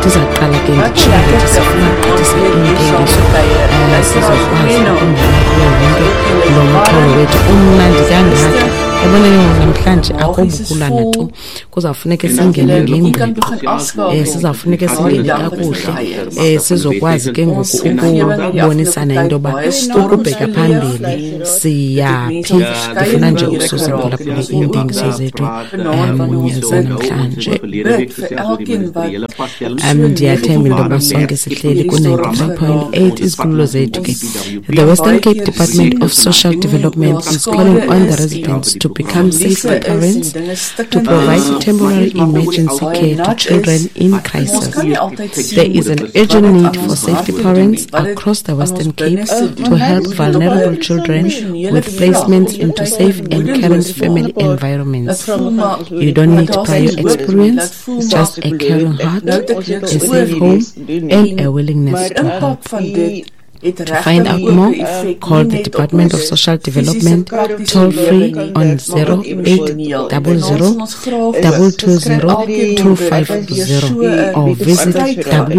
Ndizaqala ke Wat nditsho 'n lekker ndithi sifuna tip om ons ukugqithisa weer hier saam iintengiso te kuier. um Luisteraars, sizokwazi goeienaand. ukungena kuyo yonke Ek lo julle mxholo warm, wethu umnandi kangaka. rustig, Yabona ke ngoku namhlanje magies is akobukulana tu, vol kuzawufuneke en dat singene julle u kan ngengqiqo. begin afskakel Sizawufuneke na die singene dag wat dit kakuhle, verby is. sizokwazi ke ngoku Ons omgewing het die ukubonisana afgelope into tyd yoba baie storms ukubheka beleef phambili en dit het mense siyaphi. op verskeie Ndifuna nje maniere ukususa geraak en mphulaphuli ons wil ook iintengiso zethu vanaand wanneer ons bid, zanamhlanje. bid vir elkeen wat so Ndiyathemba into yoba negatief sonke sihleli hierdie storms ku-93.8 geraak is. izikhululo zethu ke. Ons The kan Western baie Cape keer Department sien of Social hoe Development daar is calling skade on the is en residents to become verliese safety is en parents dinge to stikkend provide is, temporary emergency baie care to nat is. children in Maar ons crisis. kan nie altyd There sien is an wat urgent dit need aan for ons safety harte doen nie, parents wat dit across the aan ons Western Cape binneste to doen help tot op vulnerable 'n children emosionele with vlak, placements tot into op 'n safe and caring moedeloos family maak. Laat environments. voel maar You don't dat need daar prior geen hoop is nie. experience, Laat voel maar just a caring heart, nou het ek niks a oor safe nie. home, and En a willingness die to help. impak van dit het To find regtig out ook 'n more, effek call nie the net op Department of ons Social fisiese Development praktiese toll lewe free nie, on maar ook emosioneel. En vanaand 0800 sal ons graag 220 elkeen wil bid wat deur so 250 'n or visit stryd gaan, so 'n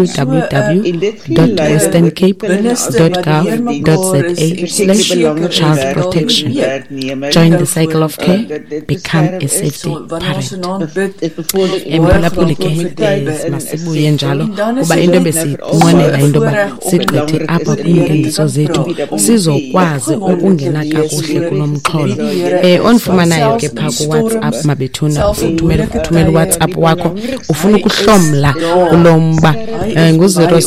binneste wat deurmekaar is en onseker is, www.westerncape.gov.za/child daar protection. breek. Join En the cycle of care, become a safety so wanneer ons parent. vanaand bid, wil ons baie Emphulaphuli graag ke ook vir u bid. masibuye njalo En dan is kuba dit into net besiyinqwenela so 'n into yoba voorreg om sigqithe met apha die Here te kwiintengiso kan zethu praat, om sizokwazi opgewonde te ukungena wees kakuhle oor kulo mxholo. wie die Here is, want Ondifumanayo selfs ke in phaa die kuWhatsApp storms, mabethuna, selfs in uthumele moeilike uthumele tye, uWhatsApp wakho ufuna hy is ukuhlomla daar. kulo mba Hy is by ons. En ngu-zero daai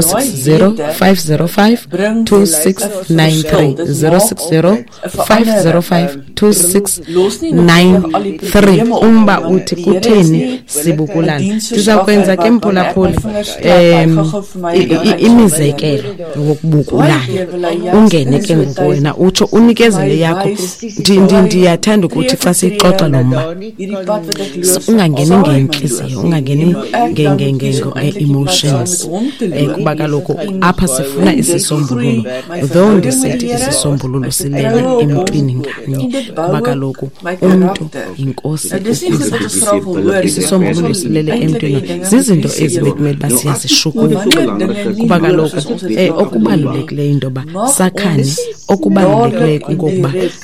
six zero wete five zero five bring two 'n six verskil. nine three Dit zero maak six zero 'n five zero verandering. five two six Los nie nine noodwendig al die three probleme op nie, umba want uthi die Here is kutheni nie 'n sibukulana. diensverskaffer Ndizawukwenza ke wat wanneer ek my mphulaphuli vingers klap, hy um gou-gou vir my dan uitsal imizekelo Baie wokubukulana keer wil hy juis ungene in ke so 'n ngoku tyd wena utsho vir my unikezele yakho. wys, daai Ndiyathanda ukuthi tree xa vir siyixoxa tree lo mba hierdie pad wat ek loop, ungangeni sal hy my ngentliziyo, loop. ungangeni En hoe ek dan moet kies om eintlik die pad saam nge-emotions met hom te loop. kuba kaloku En apha sifuna in dit groei isisombululo, my though verhouding met ndisithi die Here, isisombululo my silele vertroue op hom emntwini ngamnye en dit bou kuba ook kaloku my umntu karakter. yinkosi Nou dis nie goed wat ukuzazi. ons graag wil hoor nie. Ons Isisombululo wil silele eintlik emntwini die dinge moet zizinto lief ezi hê. bekumele uba Maar siyazishukuma wanneer dinge nie kuba loop kaloku soos ons dit graag wil nie, okubalulekileyo into yoba mag sakhane, ons okubalulekileyo dadelik en kungokuba direk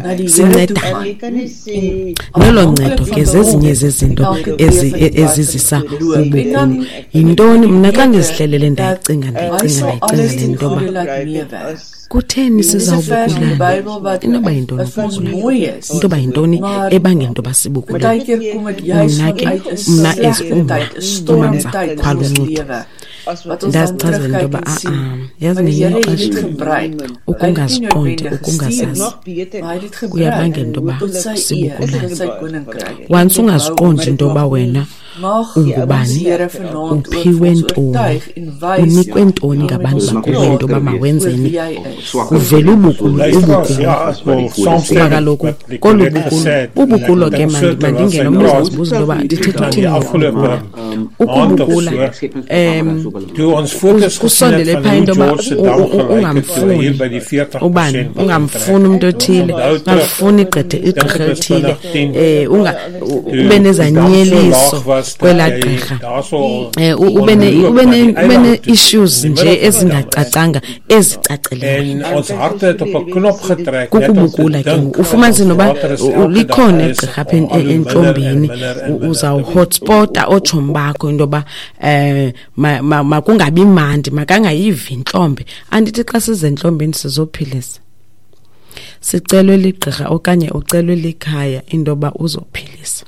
na die Here toe sincedane. gaan en Nelo ncedo afhanklik ke van zezinye hom zezinto elke tree van die pad wat ezizisa ons moet loop. En dan ubukhulu. Yintoni mna xa wete ndizihlelele dat ndayicinga hy ndayicinga sal ndayicinga alles le ten nto yoba goeie laat meewerk. kutheni Dis 'n vers in die sizawubukulana? Bybel wat Inoba yintoni wat vir ons ubukulana? mooi is. Into yoba yintoni Maar ebangela into yoba sibukulane? partykeer kom dit juis Mna ke vanuit 'n mna as slegte umma tyd, 'n stormtyd in ons uMamza lewe wat ons dan ndazichazela into terugkyk yoba en a-a sien, yazi maar die ngelinye Here het ixesha dit gebruik. Hy het dit nie ukungaziqondi noodwendig gestuur ukungazazi nie, maar hy het dit gebruik kuyabangela into yoba tot sy eer, sibukulane. tot sy koninkryk. Once En dit bou ungaziqondi ons into yoba op. wena Mag ons ungubani, Here vanaand ook vir uphiwe ons ntoni, oortuig en wys unikwe ntoni en met ngabantu ons bakuwe into praat yoba mawenzeni, oor wie hy is. kuvele ubukulo Luisteraars, ubukulo. ja, ek wil Kuba saamstem kaloku met wat kolu Nicolet bukulo gesê het. En ek ubukulo ke dink so terwyl sy mandingene omnye praat, uzazibuza into yoba ndithetha dan uthini die afgelope ngokubukula. maand of Ukubukula so, toe ons foto's gesien het kusondele van phaa hoe into yoba George se dam gelyk het toe hy hier ungamfuni by die 40% ubani, begin ungamfuni trek. umntu othile, Onthou terug, ungamfuni igqithe dink igqirha dit was elithile, 2010, ube toe die dam so laag nezanyeliso was dat kwelaa jy gqirha. daarso Ube ne kon loop ube na ne die ube eiland toe, in die ne-issues middel nje van die dam. ezingacacanga ezicacileyo. En ons harte het op 'n knop getrek net om te Kukubukula ke dink ngoku dat ufumanise ons noba water is elke dag likhona besig igqirha apha om al hoe minder en entlombeni, minder en minder te word. uzawuhotspota ootshomi bakho into yoba makungabi mandi, makangayivi intlombe. Andithi xa size entlombeni sizophilisa, sicelwe ligqirha okanye ucelwe likhaya into yoba uzophilisa.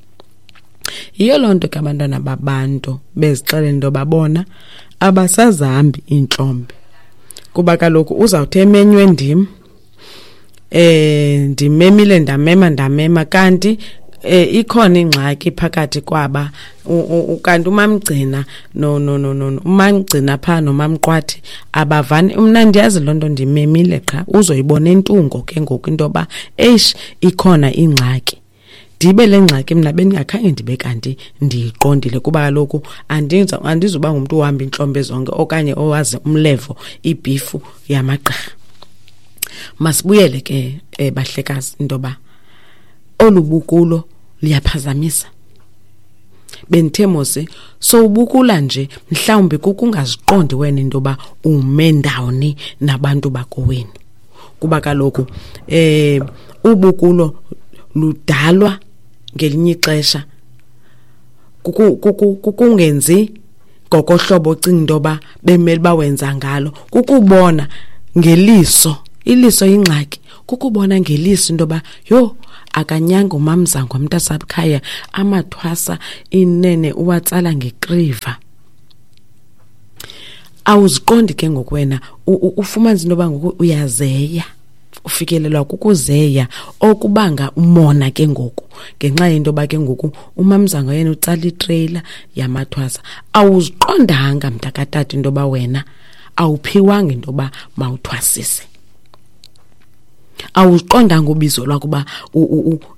Yiyo loo nto ke abantwana babantu bezixelela into yoba bona abasazihambi iintlombe, kuba kaloku uzawuthi emenywe ndim, ndimemile ndamema ndamema kanti ikhona ingxaki phakathi kwaba kanti umamgcina no no no no umamgcina pha nomamqwathi abavani. Mna ndiyazi loo nto, ndimemile qha uzoyibona entungo ke ngoku into yoba eish ikhona ingxaki. Ndibe le ngxaki mna bendingakhange ndibe kanti ndiyiqondile, kuba kaloku andizuba ngumntu ohamba iintlombe zonke okanye owazi umlevo ibhifu yamagqirha. Masibuyele ke bahlekazi into yoba olu bukulo liyaphazamisa. Bendithe mose sowubukula nje, mhlawumbi kukungaziqondi wena into yoba ume ndawoni nabantu bakowenu, kuba kaloku ubukulo ludalwa ngelinye ixesha kukungenzi ngokohlobo ocinga into yoba bemele uba wenza ngalo, kukubona ngeliso. Iliso yingxaki, kukubona ngeliso into yoba yho, akanyanga umamzango mntasekhaya, amathwasa inene uwatsala ngekriva. Awuziqondi ke ngoku wena, ufumanisa into yoba ngoku uyazeya, ufikelelwa kukuzeya okubanga umona ke ngoku, ngenxa yento yoba ke ngoku umamzango yena utsala itreyila yamathwasa. Awuziqondanga mntakatata into yoba wena awuphiwanga into yoba mawuthwasise, awuqondanga ubizo lwakho uba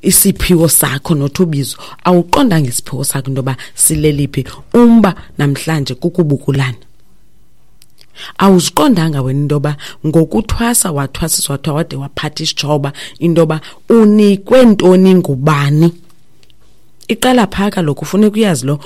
isiphiwo sakho, not ubizo, awuqondanga isiphiwo sakho into yoba sileliphi. Umba namhlanje kukubukulana. Awuziqondanga wena into yoba ngokuthwasa wathwasiswa wathiwa wade waphatha isitshoba, into yoba unikwe ntoni ngubani. Iqala phaa kaloku, funeka uyazi lo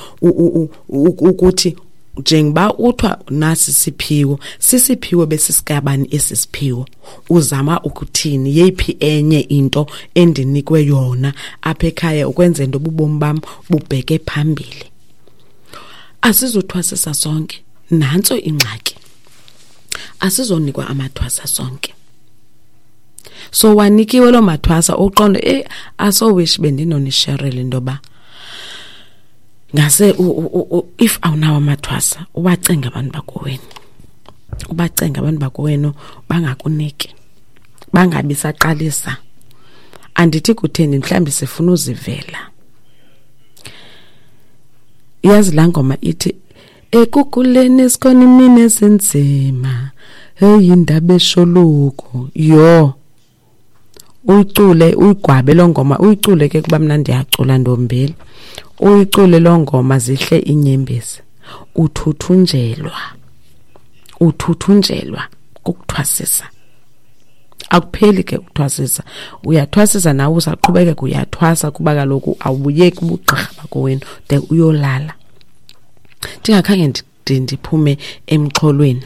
ukuthi njengoba uthiwa nasi siphiwo, sisiphiwo besisikabani esi siphiwo, uzama ukuthini, yeyiphi enye into endinikwe yona apha ekhaya ukwenzela into yoba ubomi bam bubheke phambili. Asizuthwasisa sonke, nantso ingxaki, asizonikwa amathwasa sonke. So wanikiwe loo mathwasa, uqonde, asowish bendinonisherela into yoba ngase if awunawo amathwasa, ubacenga abantu bakowenu, ubacenga abantu bakowenu bangakuniki, bangabi saqalisa. Andithi kutheni, mhlawumbi sifuna uzivela. Iyazi laa ngoma ithi ekukhuleni sikhona imini ezinzima, heyi indaba esholuko. Yho, uyicule uyigwabe loo ngoma, uyicule ke kuba mna ndiyacula ndombili, uyicule loo ngoma zihle iinyembezi. Uthuthunjelwa, uthuthunjelwa kukuthwasisa. Akupheli ke ukuthwasisa, uyathwasisa nawe usaqhubekeka uyathwasa, kuba kaloku awubuyeki ubugqirha bakowenu de uyolala. Ndingakhange ndiphume emxholweni,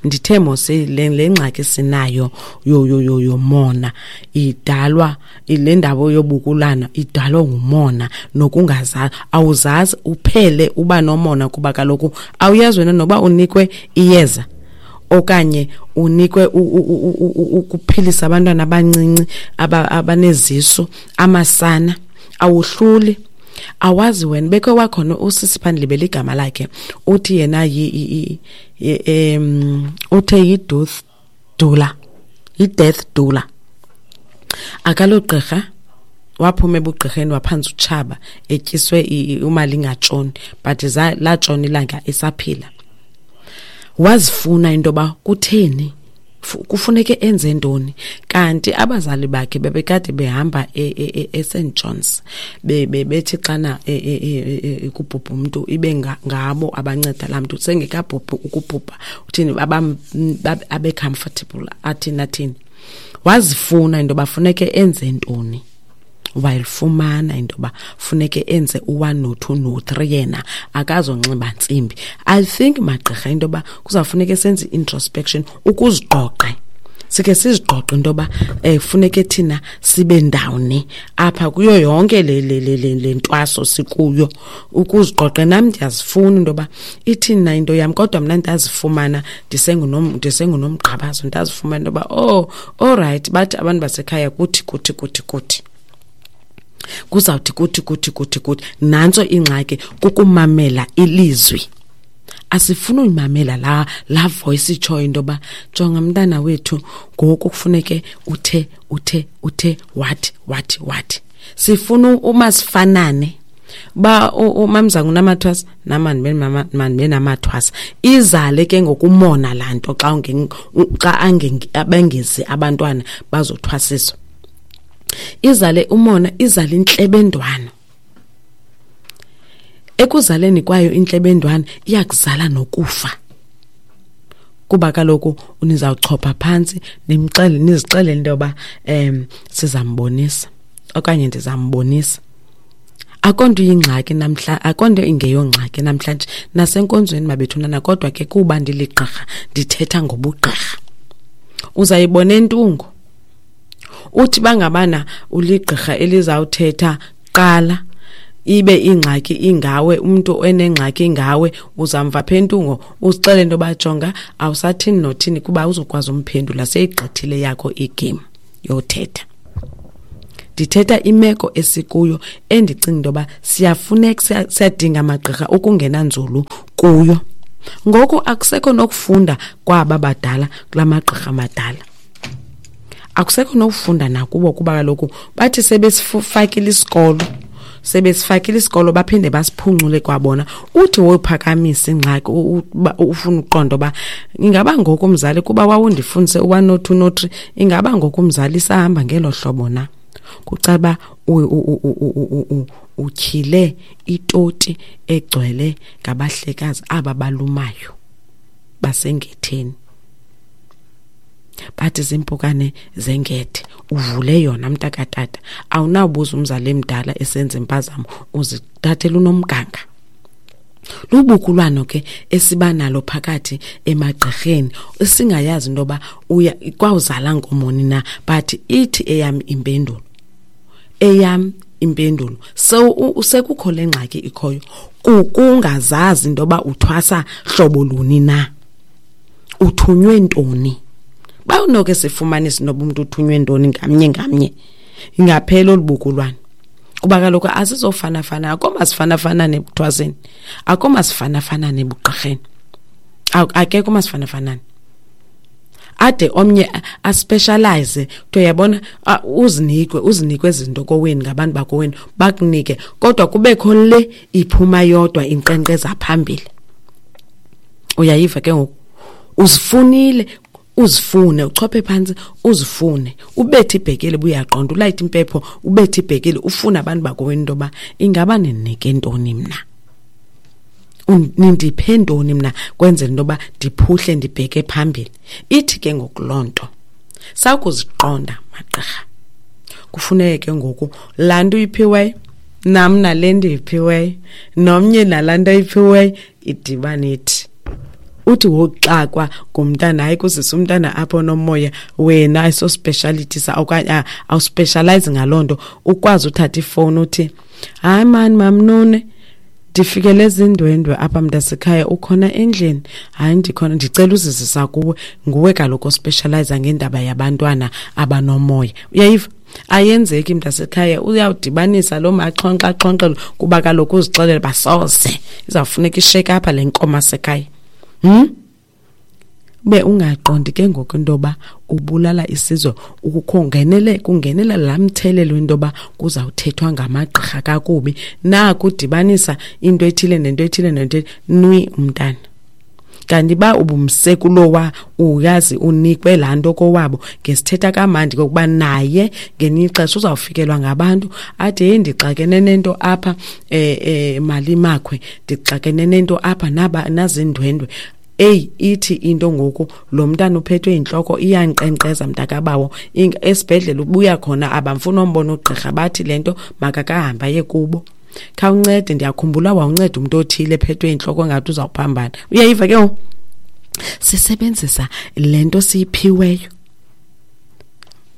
ndithe mose le ngxaki sinayo yomona idalwa, le ndaba yobukulana idalwa ngumona nokungazazi. Awuzazi uphele uba nomona, kuba kaloku awuyazi wena noba unikwe iyeza okanye unikwe ukuphilisa abantwana abancinci abanezisu, amasana. Awuhluli, awazi wena. Bekhe wakhona usisi phandle, libele igama lakhe, uthi yena uthe yi-death doula, yi-death doula. Akalogqirha, waphuma ebugqirheni waphantsa utshaba, etyiswe imali ingatshoni, but latshona ilanga esaphila. Wazifuna into yoba kutheni, kufuneke enze ntoni, kanti abazali bakhe bebekade behamba eSt John's, bethi xana kubhubha umntu ibe ngabo abanceda laa mntu sengekabhubhi ukubhubha, uthini abe comfortable, athini athini. Wazifuna into yoba funeke enze ntoni, wayifumana into yoba funeke enze u-1 no-2 no-3, yena akazonxiba ntsimbi. I think magqirha into yoba kuzawufuneke senze i-introspection, ukuziqoqe, sikhe siziqoqe into yoba funeke thina sibe ndawoni apha kuyo yonke le ntwaso sikuyo, ukuziqoqe. Nam ndiyazifuna into yoba ithini na into yam, kodwa mna ndazifumana ndisengunomgqabazo, ndazifumana into yoba oh all right, bathi abantu basekhaya kuthi kuthi kuthi kuthi kuzawuthi kuthi kuthi kuthi kuthi. Nantso ingxaki, kukumamela ilizwi. Asifuni uyimamela la voice itshoyo into yoba jonga mntana wethu, ngoku kufuneke uthe uthe uthe wathi wathi wathi. Sifuna umasifanane ba umamzangu unamathwasa nama mandibe namathwasa. Izale ke ngokumona laa nto xa xa abengezi abantwana bazothwasiswa. Izale umona, izale intlebendwane. Ekuzaleni kwayo intlebendwane iyakuzala nokufa, kuba kaloku nizawuchopha phantsi nimxele, nizixelele into yoba sizambonisa okanye ndizambonisa. Akonto iyingxaki namhla, akonto ingeyongxaki namhlanje nasenkonzweni mabethunana, kodwa ke kuba ndiligqirha ndithetha ngobugqirha. Uzayibona entungo. Uthi bangabana uligqirha elizawuthetha qala ibe ingxaki ingawe, umuntu enengxaki ingawe, uzamva pha entungo uzixele into yoba jonga awusathini nothini kuba uzokwazi umphendula, seyigqithile yakho igame yothetha. Ndithetha imeko esikuyo endicinga into yoba siyafuneka, siyadinga amagqirha ukungena nzulu kuyo. Ngoku akusekho nokufunda kwaba badala kula magqirha madala, akusekho nokufunda nakubo kuba kaloku bathi sebesifakile isikolo, sebesifakile isikolo baphinde basiphuncule kwabona. Uthi wophakamisa ingxaki ufuna uqonda uba ingaba ngoku umzali, kuba wawundifundise u-1 no 2 no 3, ingaba ngoku umzali isahamba ngelo hlobo na? Kucaba utyhile itoti egcwele ngabahlekazi aba balumayo basengetheni, bathi zimpukane zengethe. Uvule yona mntakatata, awunawubuza umzali emdala esenza impazamo, uzithathela unomganga. Lubukulwano ke esiba nalo phakathi emagqirheni esingayazi into yoba uya kwawuzala nkomoni na, but ithi eyam impendulo, eyam impendulo sekukho le ngxaki ikhoyo kukungazazi into yoba uthwasa hlobo luni na, uthunywe ntoni. Bawunoke sifumanise noba umntu uthunywe ntoni ngamnye ngamnye, ingaphela olu bukulwane. Kuba kaloku asizofanafana, akho masifanafana ekuthwaseni, akho masifanafana ebugqirheni, akekho masifanafana. Ade omnye aspecialize, kuthiwa uyabona, uzinikwe izinto koweni ngabantu bakowenu, bakunike, kodwa kubekho le iphuma yodwa inkqenkqeza phambili. Uyayiva ke ngoku, uzifunile, uzifune, uchophe phantsi, uzifune, ubethe ibhekele buyaqonda, ulayite impepho, ubethe ibhekele, ufune abantu bakowenu into yoba ingaba ninike ntoni mna, nindiphe ntoni mna kwenzela into yoba ndiphuhle ndibheke phambili. Ithi ke ngoku loo nto sakuziqonda magqirha, kufuneke ke ngoku laa nto uyiphiweyo nam nale ndiyiphiweyo nomnye nalaa nto ayiphiweyo idibane ithi. Uthi woxakwa ngumntana, hayi kuzisa umntana apho nomoya, wena ayiso speciality sa okanye awuspecialize ngaloo nto, ukwazi uthatha ifowuni uthi hayi mani mamnune, ndifikele ezindwendwe apha mntasekhaya, ukhona endlini? Hayi ndikhona, ndicela uzizisa kuwe, nguwe kaloku ospecialize ngendaba yabantwana abanomoya. Uyayiva? Ayenzeki mntasekhaya, uyawudibanisa loo maxhonxa axhonxelo kuba kaloku uzixelele uba soze izawufuneka isheke apha le nkomo asekhaya. Ube ungaqondi ke ngoku into yoba ubulala isizwe, kungenela laa mthelelo into yoba kuzawuthethwa ngamagqirha kakubi, nakudibanisa into ethile nento ethile nento ethile, nwi umntana. Kanti ba ubumse kulowa uyazi unikwe laa nto kowabo, ngesithetha kamandi kokuba naye ngelinye ixesha uzawufikelwa ngabantu athi heyi ndixakene nento apha, Malimakhwe, ndixakene nento apha, nazindwendwe. Eyi, ithi into ngoku lo mntana uphethwe yintloko iyankqenkqeza mntakabawo, esibhedlele ubuya khona abamfuni ombona ugqirha, bathi le nto makakahambe aye kubo. Khawuncede, ndiyakhumbula wawunceda umntu othile ephethwe yintloko ngathi uzawuphambana. Uyayiva ke ngoku? Sisebenzisa le nto siyiphiweyo.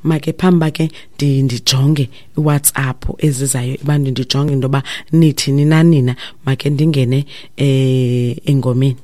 Make phambi ke ndijonge iWhatsApp ezizayo ebantwini, ndijonge into yoba nithini na nina, make ndingene engomeni.